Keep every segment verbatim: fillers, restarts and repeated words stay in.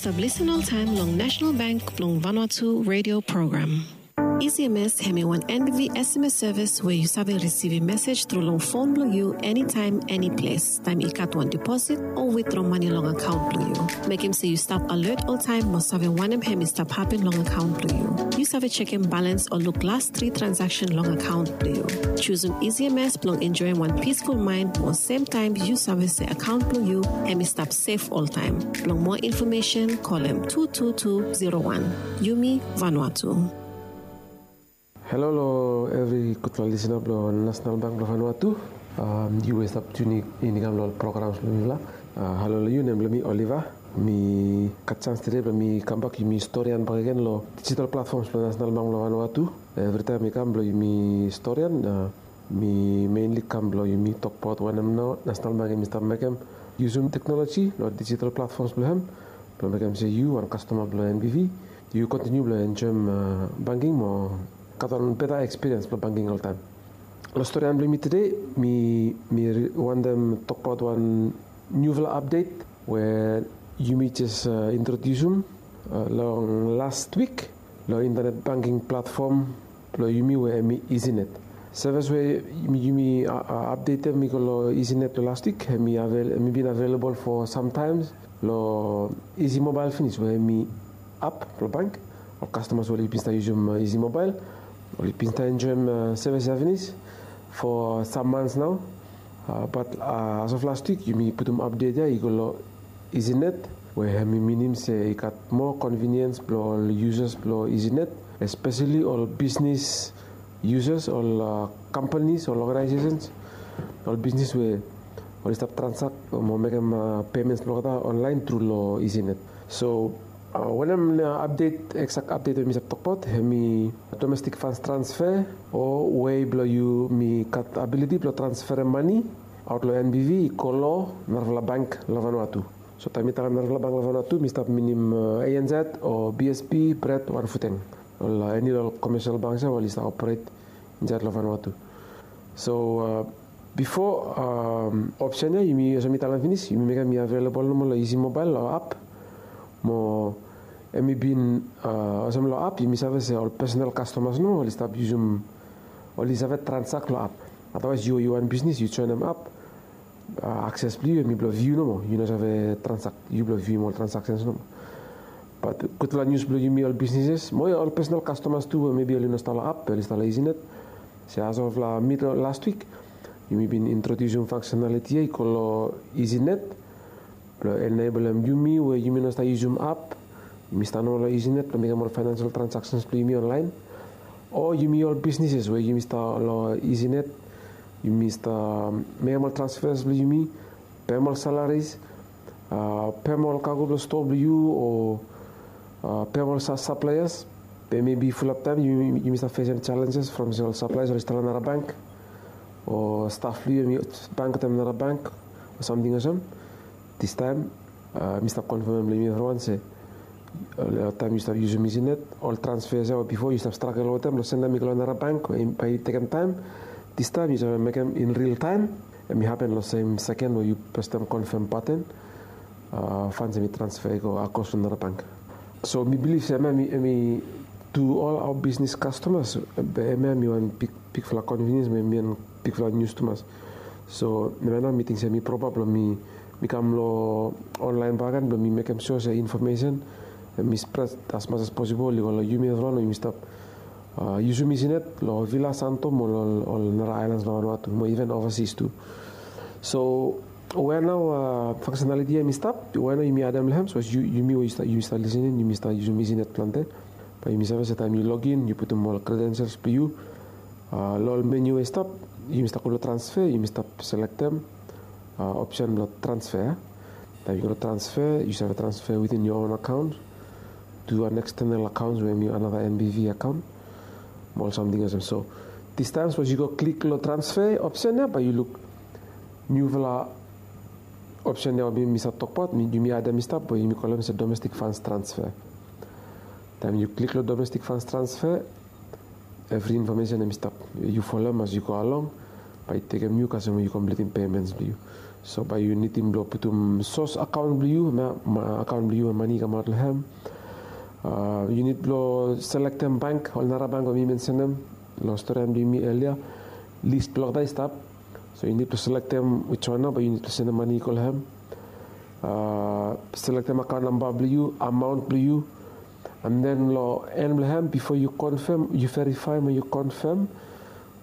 Stap lisen oltaem long National Bank blong Vanuatu radio program. E C M S hemi wan N B V S M S sevis we yu save risivim mesej tru long fon blong yu enitaem, eniples, taem i gat wan deposit o witdro mane long akaon blong yu. Mekem se yu stap alert oltaem mo save wanem hemi stap hapen long akaon blong yu. Yu save jekem balans o luk las tri transaksen long akaon blong yu. Jusum E C M S blong enjoem wan pisful maen mo semtaem yu save se akaon blong yu hemi stap sef oltaem. Blong moa infomesen, kolem tu tu tu zero wan. Yumi Vanuatu. Halo long evri gudfala lisina blong National Bank blong Vanuatu. Yu we stap tuning in i kam long ol programs blong mifala. Halo long yu, nem blong mi Oliver. Mi gat jans tede blong mi kambak yumi storian bakegen long digital platforms blong National Bank blong Vanuatu. Evritaem mi kam blong yumi storian, mi mainly kam blong yumi tokbaot wanem nao National Bank hemi stap mekem, yusum teknoloji long digital platforms blong hem blong mekem se yu wan kastoma blong N B V yu kontiniu blong enjoem banking mo gat wan beta ekspiriens blong banking oltaem. Long storian blong yumi tede, mi wantem tokbaot wan niufala apdet we yumi jes introdiusum long las wik long intanet banking platfom blong yumi we hemi EasyNet. Sevis we yumi apdetem i go long EasyNet long las wik, hemi bin avelabol fo samtaem long Easy Mobile finis we hemi ap blong bank. Ol kastomas we oli bin stap yusum Easy Mobile oli bin stap enjoem sevis ya finis fo sam mans nao. Bat as of las wik yumi putum apdet ya i go long EasyNet, we hemi minim se i gat moa konviniens blong ol yusas blong EasyNet, espeseli ol bisnis yusas, ol kampanis, ol oganaesesens, ol bisnis we oli stap transak mo mekem pemens blong olgeta onlaen tru long EasyNet. So wanem apdet, eksak apdet we mi stap tokbaot hemi domestik fans transfer, o wei blong yumi gat abiliti blong transferem mane aot long N B V i go long narafala bank long Vanuatu. So taem mi talem narafala bank long Vanuatu mi stap minim A N Z o B S P, BRED, Wanfuteng, ol eni long ol commercial banks ya we oli stap operet insaed long Vanuatu. So bifo, opsen ya yumi olsem mi talem finis yumi mekem i avelabol nomo long Easy Mobile o ap. Mo hemi bin olsem long ap yumi save se ol pesonal kastomas nomo oli stap yusum, oli save transak long ap. Adawaes yu, yu wan bisnis yu joenem ap, akses blong yu hemi blong viu nomo, yu no save transak, yu blong vium ol transaksens nomo. Bat gudfala nius blong yumi ol bisnises mo ol pesonal kastomas tu we mebi oli no stap long ap, oli stap long EasyNet, se as of long mid long las wik yumi bin introdiusum faksenaliti ya i go long EasyNet blong enebolem yumi we yumi no stap yusum ap, yumi stap nomo long EasyNet blong mekem ol faenensel transaksens blong yumi onlaen. O yumi ol bisnises we yumi stap long EasyNet, yumi stap mekem ol transfers blong yumi, pem ol salaris, pem ol kago blong stoa blong yu, o pem ol saplaeas. Be mebi fulap taem yumi stap fesem jalenjes from se ol saplaeas oli stap long nara bank, o staf blong yu hemi bank wetem nara bank, o samting olsem. Distaem mi stap konfemem long yumi evriwan se taem yu stap yusum EasyNet, ol transfers ya we bifo yu stap stragel wetem long sendem i go long nara bank we bae i tekem taem, distaem yu save mekem in ril taem. Hemi hapen long sem seken we yu presem konfem baten, fans hemi transfer i go akros long nara bank. So mi bilif se hemia hemi tu ol aoa bisnis kastomas, be hemia hemi wan bigfala konviniens mo hemi wan bigfala nius tumas. So hemia nao mi ting se hemi propa blong mi kam long onlaen bakegen blong mi mekem sua se infomesen hemi spred asmas as posibol i go long yumi evriwan we yumi stap yusum EasyNet long Vila, Santo mo long ol nara aelans long Vanuatu mo iven ovasis tu. So wea nao faksenaliti ya hemi stap, wea nao yumi adem long hem? Sapos yumi we yumi stap lisening yumi stap yusum EasyNet plante, bae yumi save se taem yu login yu putum ol kredensels blong yu. Long ol meniu we i stap, yumi stap go long transfer, yumi stap selektem opsen blong transfer. Taem yu go long transfer yu save transfer within your own account to an external account we hemi another N B V account mo ol samting olsem. So distaem sapos yu go klik long transfer opsen ya bae yu luk niufala opsen ya we mi stap tokbaot, yumi adem i stap we yumi kolem se domestik fans transfer. Taem yu klik long domestik fans transfer, evri infomesen hemi stap. Yu folem as yu go along, bae i tekem yu kasem we yu kompletem pemens blong yu. So bae yu nidim blong putum sos akaon blong yu, akaon blong yu we mane i kamaot long hem. Yu nid blong selektem bank, ol nara bank we mi mensenem long storian blong yumi elia. Lis blong olgeta i stap. So yu nid blong selektem wiswan nao bae yu nid blong sendem mane i go long hem. Selektem akaon namba blong yu, amaon blong yu. And then long en blong hem, bifo yu konfem, yu verifaem o yu konfem,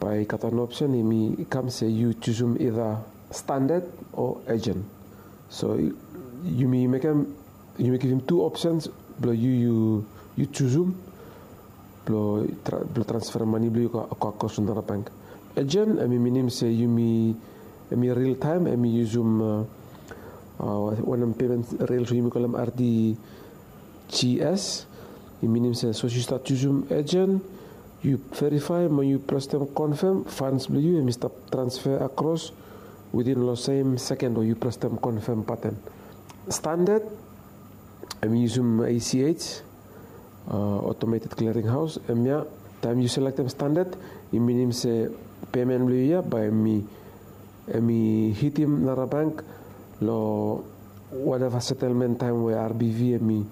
bae i gat wan opsen, hemi kam se yu jusum ida standard o agent. So yumi mekem, yumi givim tu opsens blong yu, yu jusum blong transferem mane blong yu go akros long nara bank. Agent hemi minim se yumi, hemi ril taem, hemi yusum wanem pemen rils we yumi kolem R T G S. I minim se sapos yu stap jusum agent, yu verifaem o yu prestem konfem, funds blong yu hemi stap transfer akros within long sem seken we yu prestem konfem baten. Standard hemi yusum A C H, Automated Clearing House. Hemia, taem yu selektem standard, i minim se pemen blong yu ia bae hemi hitim nara bank long whatever setelmen taem we R B V hemi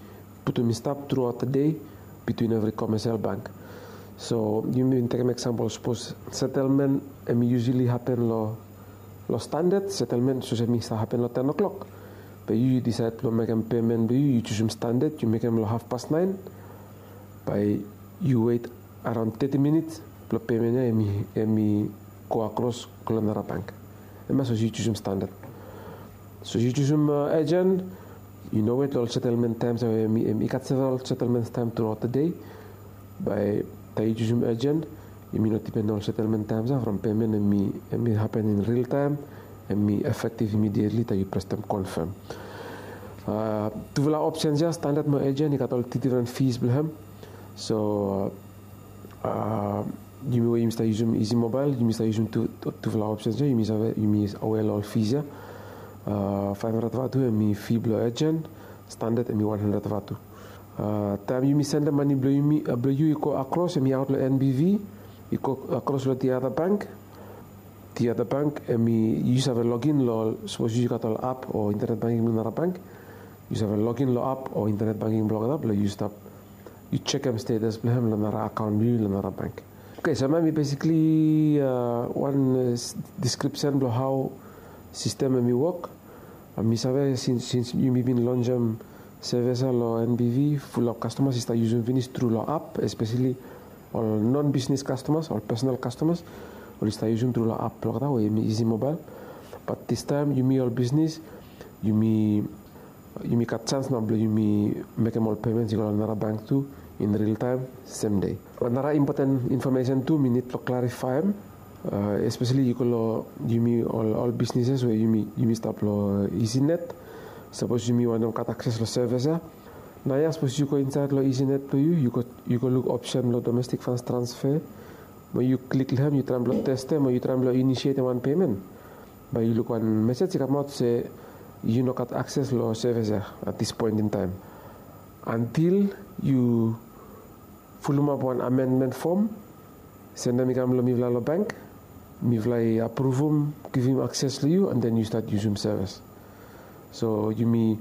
putum i stap truaot de bitwin evri komesel bank. So yumi bin tekem eksampol, sapos setelmen hemi yusali hapen long standard, setelmen sapos hemi stap hapen long ten o'clock, be yu yu disaed blong mekem pemen blong yu, yu jusum standard, yu mekem long hafpas naen, bae yu wet araon teti minits blong pemen ia hemi go akros go long nara bank. Hemia sapos yu jusum standard. Sapos yu jusum agent, yu no wet long ol setelmen taem ia we hemi, i gat several setelmen taem truaot de. Bae taem yu jusum agent, yumi no dipen long ol setelmen taem ia from pemen hemi hapen in ril taem, hemi efektiv imidietli taem yu prestem konfem. Tufala opsens ia, standard mo agent, i gat ol tu difren fees blong hem. So yumi we yumi stap yusum Easy Mobile, yumi stap yusum tufala opsens ia, yumi save, yumi aware long ol fees ia. Faef handred vatu hemi fee blong agent, standard hemi wan handred vatu. Taem yumi sendem mane blong yu i go akros, hemi aot long N B V, i go akros long the other bank. The other bank hemi, yu save login long, sapos yu gat ol app o internet banking blong nara bank, yu save login long app o internet banking blong olgeta blong yu stap, yu jekem status blong hem long nara akaon blong yu long nara bank. Oke, so hemia hemi besikli wan deskripsen blong hao sistem hemi wok. Mi save sins yumi bin lonsem sevis ia long N B V, fulap kastomas i stap yusum finis tru long app, espeseli ol non bisnis kastomas, ol pesonal kastomas, oli stap yusum tru long app blong olgeta we hemi Easy Mobile. Bat distaem yumi ol bisnis, yumi gat janis nao blong yumi mekem ol pemens i go long nara bank tu in ril taem, sem de. Nara impoten infomesen tu mi nid blong klarifaem, espeseli i go long yumi ol bisnises we yumi stap long EasyNet. Sapos yumi wantem gat akses long sevis ia, naoia sapos yu go insaed long EasyNet blong yu, yu go luk opsen blong domestik funds transfer, mo yu klik long hem, yu traem blong testem o yu traem blong inisietem wan pemen, bae yu luk wan mesej i kamaot se yu no gat akses long sevis ia at this point in time, antil yu fulumap wan amendment fom, sendem i kam long mifala long bank, mifala i apruvum, givim akses long yu, and then yu stat yusum sevis. So yumi,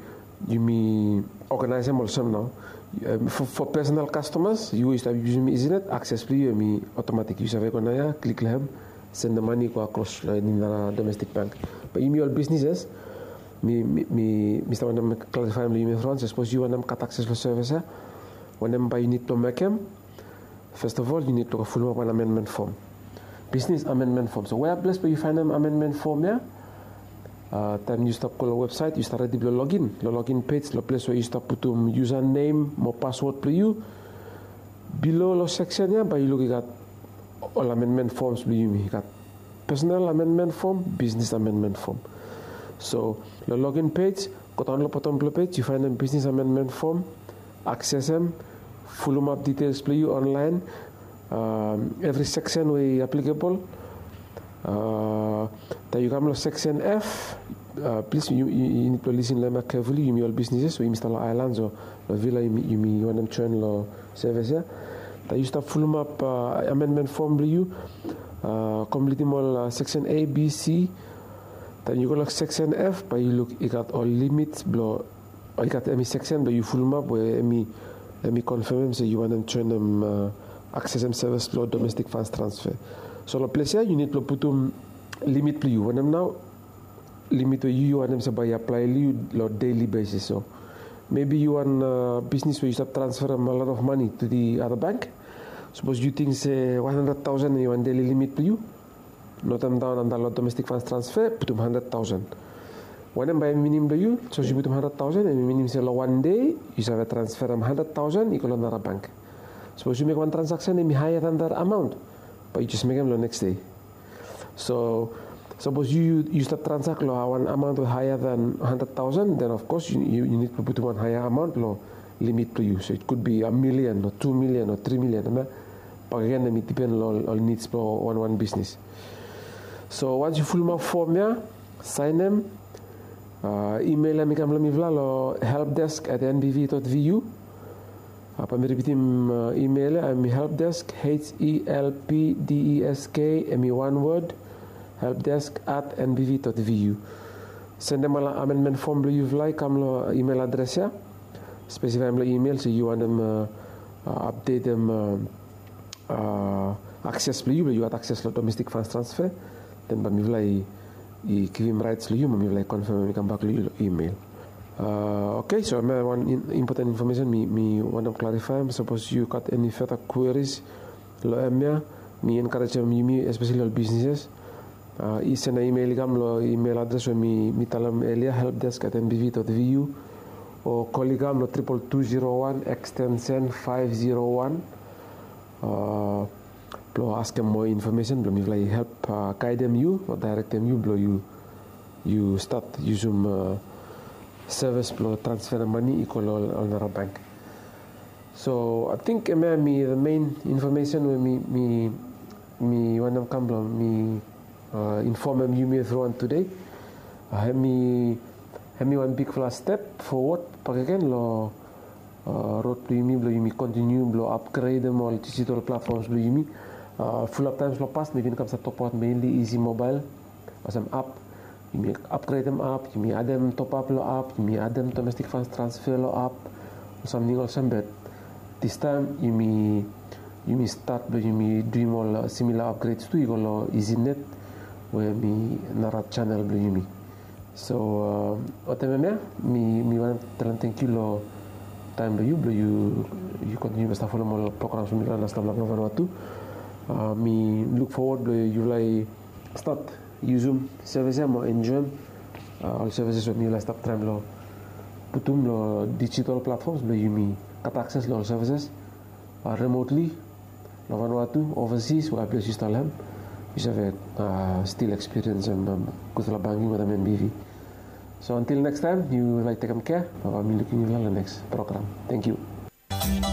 yumi oganaesem olsem nao. Fo pesonal kastomas, yu we yu stap yusum EasyNet, akses blong yu hemi otomatik. Yu save go naoia, klik long hem, sendem mane i go akros long eni nara domestik bank. Bat yumi ol bisnises, mi stap wantem klarifaem long yumi from, sapos yu wantem gat akses long sevis ia, wanem bae yu nid blong mekem? Fes of ol, yu nid blong go fulumap wan amendment fom. Bisnis amendment fom. So we ples blong yu faenem amendment fom ia? Taem yu stap go long websaet, yu stap redi blong login long login pej, long ples we yu stap putum usernem mo paswod blong yu. Bilo long seksen ia bae yu luk i gat ol amendment foms blong yumi. I gat personal amendment fom, bisnis amendment fom. So long login pej, godaon long botom blong pej, yu faenem bisnis amendment fom, aksesem, fulumap ditels blong yu onlaen, evri seksen we i aplikabol. Taem yu kam long seksen F, plis yu nid blong lisin long hemia kefuli, yumi ol bisnises we yumi stap long aelan, so long Vila yumi wantem joen long sevis ia. Taem yu stap fulumap amendment fom blong yu, komplitim ol seksen A, B, C, Then yu go long section F, bae yu luk i gat ol limit blong, i gat hemi section blong yu fulumap we hemi, hemi konfemem se yu wantem joenem, aksesem sevis blong domestic funds transfer. So long ples ia yu nid blong putum limit blong yu, wanem nao limit we yu, yu wantem se bae i aplae long yu long daily basis. So maybe yu wan bisnis we yu stap transferem a lot of money to the other bank. Sapos yu ting se wan handred taosen hemi wan daily limit blong yu, notem daon antap long domestic funds transfer, putum handred taosen. Wanem bae hemi minim blong yu? Sapos yu putum handred taosen, hemi minim se long wan dei yu save transferem handred taosen i go long nara bank. Sapos yu mekem wan transaksen hemi haea dan that amount, bae yu jes mekem long neks dei. So sapos yu, yu stap transak long wan amount we haea dan handred taosen, then of course yu, yu nid blong putum wan haea amount long limit blong yu. So it could be a million o tu million o tri million, hemia bakegen hemi dipen long ol nids blong wanwan bisnis. So wans yu fulumap fom ia, saenem, imeilem i kam long mifala long helpdesk at nbv dot vu. Bae mi ripitim imeil ia, hemi helpdesk, H E L P D E S K, hemi wan word, helpdesk at nbv dot vu. Sendem ol amendment fom blong yufala i kam long imeil adres ia. Spesifaem long imeil se yu wantem apdetem akses blong yu, blong yu gat akses long domestic funds transfer. Then bae mifala i, i givim raets long yu, bae mifala i konfemem i kambak long yu long imeil. Oke, so hemia wan impoten infomesen mi, mi wantem klarifaem. Sapos yu gat eni feta kweris long hemia, mi enkarejem yumi, espeseli ol bisnises, i sendem imeil i kam long imeil adres we mi, mi talem elia, helpdesk at nbv dot vu, o kol i kam long triple two zero one extension five zero one blong askem moa infomesen blong mifala i help gaedem yu o daerektem yu blong yu, yu stat yusum sevis blong transferem mane i go long ol nara bank. So ating hemia hemi the main infomesen we mi, mi, mi wantem kam blong mi infomem yumi evriwan tede. Hemi, hemi wan bigfala step fowod bakegen long rod blong yumi, blong yumi kontiniu blong apgredem ol digital platforms blong yumi. Fulap taems long pas mi bin kam stap tokbaot mainly Easy Mobile olsem app. Yumi apgredem app, yumi adem topap long app, yumi adem domestic funds transfer long app, ol samting olsem. Be distaem yumi, yumi stat blong yumi duim ol similar upgrades tu i go long Easy Net, we hemi nara channel blong yumi. So wetem hemia mi, mi wantem talem tangkiu long taem blong yu, blong yu, yu kontiniu blong stap folem ol programs blong mifala long Stap Lav long Vanuatu. Mi luk fowod blong yufala i stat yusum sevis ia mo enjoem ol sevises we mifala i stap traem long putum long digital platforms blong yumi gat akses long ol sevises remotely long Vanuatu, overseas, we ae ples yu stap long hem, yu save stil ekspiriensem gudfala banking wetem NBV. So until next time, yufala i tekem kea, bae mi lukim yufala long next program. Tangkiu.